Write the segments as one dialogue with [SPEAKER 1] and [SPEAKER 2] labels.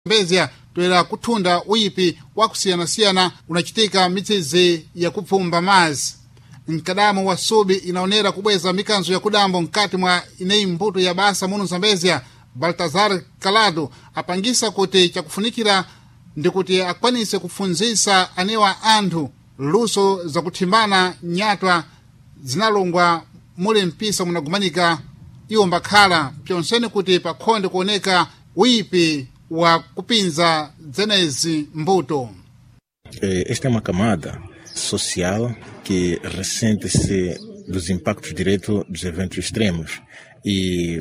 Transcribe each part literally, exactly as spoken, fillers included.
[SPEAKER 1] Zambezia toera kuthunda uyipi wakusiyanasiyana unachitika mitsizi yakupfumba mazi. Mkadamo wa subi inaonera kubweza mikanzo ya kudambo mkati mwa ineyi mbuto ya basa muno Zambezia. Baltazar Calado apangisa kuti chakufunikira ndikuti akwanise kufunzisa anewa anthu luso zakuthimbana nyatwa zinalongwa muli mpisa munagumanika iwo mbakhala pyonsene kuti pakhonde kuoneka uyipi wa kupinza dzenezi mbuto.
[SPEAKER 2] Esta é uma camada social que ressente-se dos impactos diretos dos eventos extremos e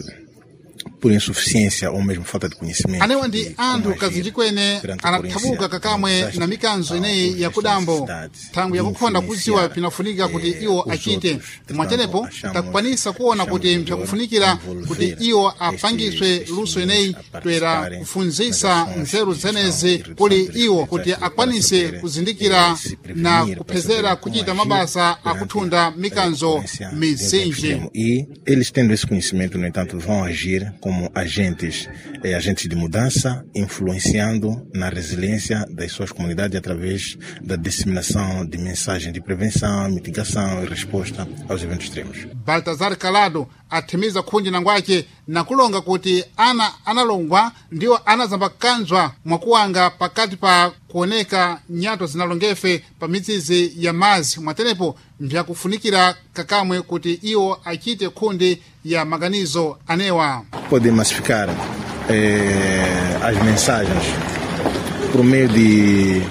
[SPEAKER 2] por insuficiência ou mesmo falta de conhecimento.
[SPEAKER 1] Anewa ndi anthu kazinji kwene anathabuka kakamwe na mikanzo ineyi yakudambo thangwi yakukhonda kudziwa pinafunika kuti iwo achite. Mwachenepo takukwanisa kuona kuti mpyakufunikira kuti iwo apangiswe luso ineyi toera kufunzisa nzeru zenezi kuli iwo kuti akwanise kuzindikira na kuphezera kuchita mabasa akuthunda mikanzo mizinji.
[SPEAKER 2] E eles tendo esse conhecimento, no entanto, vão agir como agentes, eh, agentes de mudança, influenciando na resiliência das suas comunidades através da disseminação de mensagens de prevenção, mitigação e resposta aos eventos extremos.
[SPEAKER 1] Baltazar Calado athimiza khunji nangwace nakulonga kuti ana analongwa ndiwo anazambakanzwa mwakuwanga pakati pa kuoneka nyato zinalongefe pa mitsizi ya mazi. Mwatenepo mbyakufunikira kakamwe kuti iwo achite khundi ya maganizo anewa.
[SPEAKER 2] Podem massificar eh, as mensagens por meio de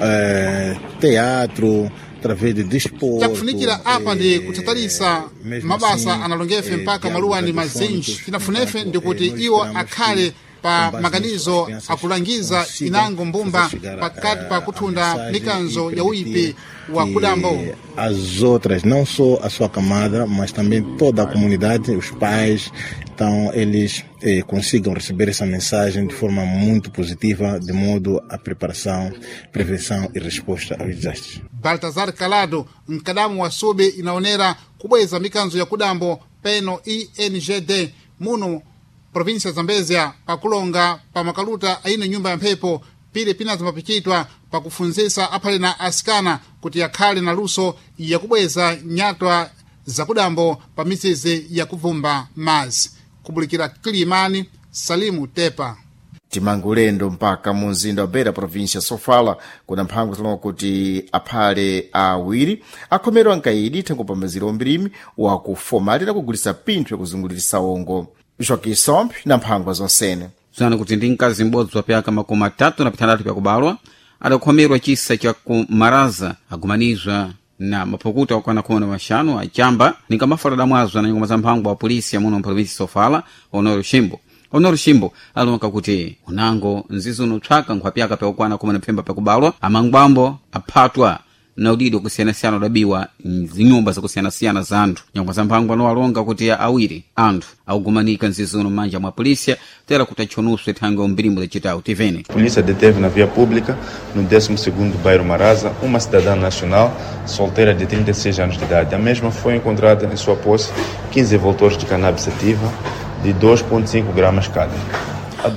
[SPEAKER 2] eh, teatro, através de desporto.
[SPEAKER 1] Chakufunikira apa ndi kuthatalisa mabasa analongefe mpaka maluwa ndi mazinji. Tinafunefe ndi kuti iwo akhale pa maganizo akulangiza inango mbumba pakati pa kuthunda mikanzo ya uyipi wa kudambo.
[SPEAKER 2] As outras, não só a sua camada, mas também toda a comunidade, os pais, então eles eh, consigam receber essa mensagem de forma muito positiva, de modo a preparação, prevenção e resposta aos desastres.
[SPEAKER 1] Baltazar Calado, mkadamu wa sube inaonera kubweza mikanzo ya kudambo peno I N G D muno província Zambezia pakulonga pa makaluta aine nyumba ya mphepo pili pinazimapichitwa pakufunzisa aphale na asikana kuti akhale na luso yakubweza nyatwa zakudambo pa mitsizi yakuvumba mazi. Kubulikira Kilimani, Salimu Tepa.
[SPEAKER 3] Timangulendo mpaka mu mzinda wa Beira, província Sofala, kuna mphango zilonga kuti aphale awiri akhomerwa nkaidi thengo pamaziro ombirimi wakufomalira kugulisa pinthu yakuzungulirisa ongo. Joaquim Somp na mphangwa zonsene.
[SPEAKER 4] Zana kuti ndi mkazi m'bodzi wa pyaka makumi atatu na pitandatu pyakubalwa adakhomerwa chisa cha kumaraza agumanizwa na maphukuta okwana khumi na maxanu acamba ninga damwazwa na nyungoma za mphango wa polisi amuno mprovinsi Sofala, Honoro Shimbo. Honoro Shimbo alonka kuti unango nzizi unopsaka nkhwapyaka pyakukwana khumi na phemba pyakubalwa amangwambo aphatwa na udidi wakusiyanasiyana udabiwa mzinyumba zakusiyanasiyana za anthu. Nyangwa za mphango anowalonga kuti awiri anthu akugumanika nzizi uno m'manja mwa polícia tera kuti atchonuswe thangwe umbirimbo lacitawu tivene.
[SPEAKER 5] Polícia deteve na via pública, no décimo segundo bairro Marasa, uma cidadã nacional solteira de trinta e seis anos de idade. A mesma foi encontrada em sua posse quinze envoltórios de cannabis sativa de dois vírgula cinco gramas cada.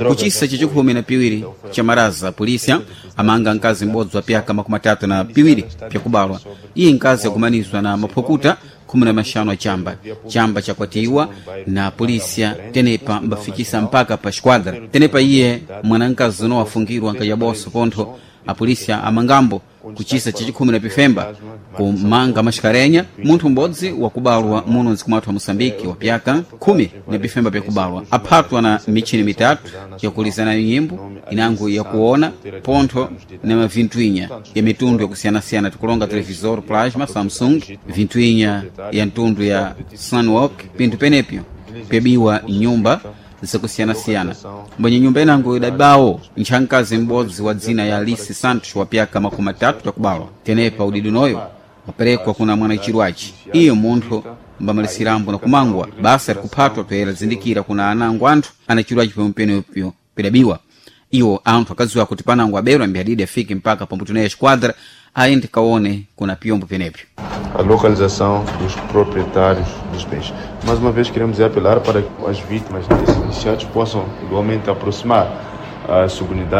[SPEAKER 4] Kuchisa chachikhumi na piwiri cha Maraza, polícia amanga mkazi m'bodzi wa pyaka makumi atatu na piwiri pyakubalwa. Iye mkazi akumanizwa na maphukuta khumi na maxanu achamba chamba chakwatiwa na polícia tenepa mbafikisa mpaka pa esquadra. Tenepa iye mwanamkazi uno wafungirwa nkajaboso pontho apolisia amangambo kuchisa chachikhumi na pifemba kumanga maxikarenya munthu m'bodzi wakubalwa muno mdziko mwathu wa Moçambique wa pyaka khumi na pifemba pyakubalwa aphatwa na michini mitatu yakuliza nayo nyimbo inango yakuona pontho na mavintwinya ya mitundu yakusiyanasiyana, tikulonga televisor plasma Samsung, vintwinya ya mtundu ya Sunwalk, pinthu penepyo pyabiwa nyumba zakusiyanasiyana. Mbwenye nyumba inango idabawo nthankazi m'bodzi wa dzina ya Alice Santos wa pyaka makumi atatu takubalwa. Tenepa udidi noyo waperekwa kuna mwana chirwachi iyo munthu mbamalisirambo na kumangwa basa likuphatwa toyera zindikira kuna anango anthu ana chirwachi pomwenepyo pidabiwa. Iwo anthu akadziwa kuti panango aberwa mbiyadidi afike mpaka pambuto naye esquadra aende kaone kuna piyombo penepyo.
[SPEAKER 5] A localização dos proprietários dos bens. Mais uma vez queremos apelar para que as vítimas desses iniciados possam igualmente aproximar a subunidade